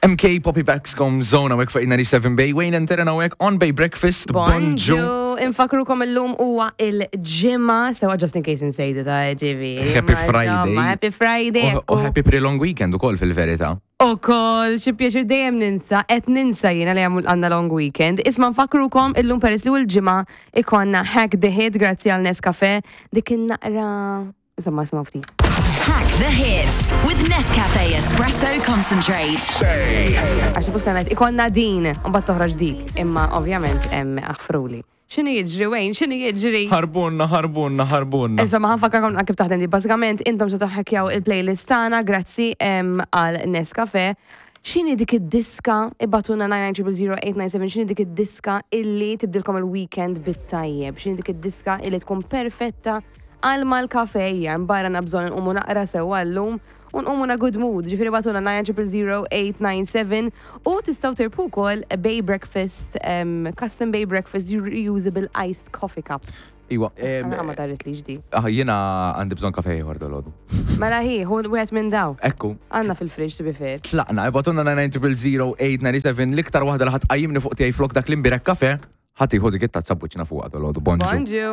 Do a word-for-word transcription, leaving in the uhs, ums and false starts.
M K Poppy Baxcom Zone hawnhekk fuq ninety-seven Bay. Wayne and Terena hawnhekk on Bay Breakfast. Bonġu. Bonġu. Infakrukom illum huwa il-Ġimgħa, sewa, just in case insejtu ta' ġivi. Happy Friday. Happy Friday. U u happy pre-long weekend ukoll fil-verità. U kol, xi pjaċir, dejjem ninsa, qed ninsa jiena li għamul għandna long weekend. Isma', nfakrukom illum, peress li hu l-Ġimgħa, ikollna Hack the Hit grazzi għal Nescafe. Dik naqra. Insomma, isma' ftit. Hack the Hits with Nescafe Espresso Concentrate. Għax suppost kienet ikollna din, u mbagħad toħroġ dik, imma ovvjament hemm aħfruli. X'inhu jiġri, Wayne? X'inhu jiġri? Ħarbunna, ħarbunna, ħarbunna. Insomma, ħa nfakkarkom kif taħdem di. Basikament, intom se taħkjaw il-playlist tagħna grazzi em, għal Nescafe. X'inhi dik id-diska, ibagħtulna nine nine zero zero eight nine seven, x'inhi dik id-diska illi tibdilkom il-weekend bit-tajjeb, x'inhi dik id-diska illi tkun perfetta għal mal-kafe, barra nabżon nqumu naqra sewa llum u nqumu na good mood. Ġifieri ibagħtulna nine zero zero eight nine seven u tistgħu tirbħu wkoll Bay Breakfast, um, custom Bay Breakfast reusable iced coffee cup. Iwa, Għana ma tarrit li ġdi. Ah, jiena għandi bżonn kafe ieħor dalgħodu. Mela hi, hu wieħed minn daw. Ekku. Għandna fil-fridge, to be fair. Tlaqna, ibagħtulna nine nine zero zero eight nine seven, l-iktar waħda li ħa tqajjimni fuq tiegħi flok dak l-imbirek kafe, ħa tieħu dik it-tazza buċina fuq dalgħodu. Bonġu. Bonġu.